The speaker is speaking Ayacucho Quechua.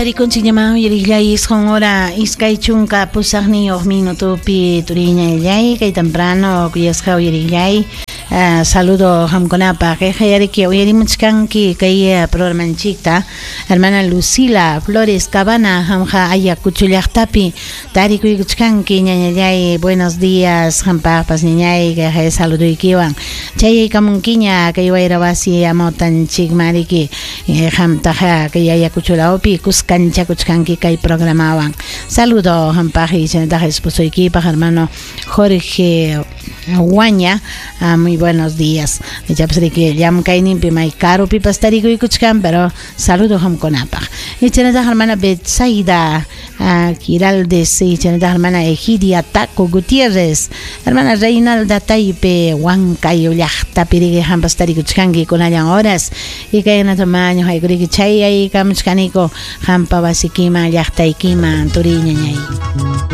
Tarikunchik ñaman uyariqllay 9 hora 28 minutopi turiñallay kay temprano kuyasqa uyariqllay. Saludo qamkunapaq kayqa uyarimuchkanki kay programanchikta hermana Lucila Flores Cabana qamqa Ayacucho llaqtapi tarikuykuchkanki ñañallay. Buenos días qampaqpas ñañay kayqa saluduykiwan chayaykamunkiña kay wayra wasi amawtanchikman qamtaqa kay Ayacucho lawpi kuskanchakuchkanki kay programawan. Saludo qampaq y chaynataqa esposoykipaq hermano Jorge Guaña, muy buenos días. Ichapas riki llamkayninpi may karupipas tarikuykuchkan, pero saludo qamkunapaq. Y chaynataqa hermana Betsaida Giraldes, y chaynataqa hermana Egidia Taco Gutiérrez, hermana Reinalda Taipe, Huancayo llaqtapi riki qampas tarikuchkanki kunallan horas. Y kaynata maño haykuriki chayaykamuchkaniko qampa wasikiman llaqtaykiman turiñañay.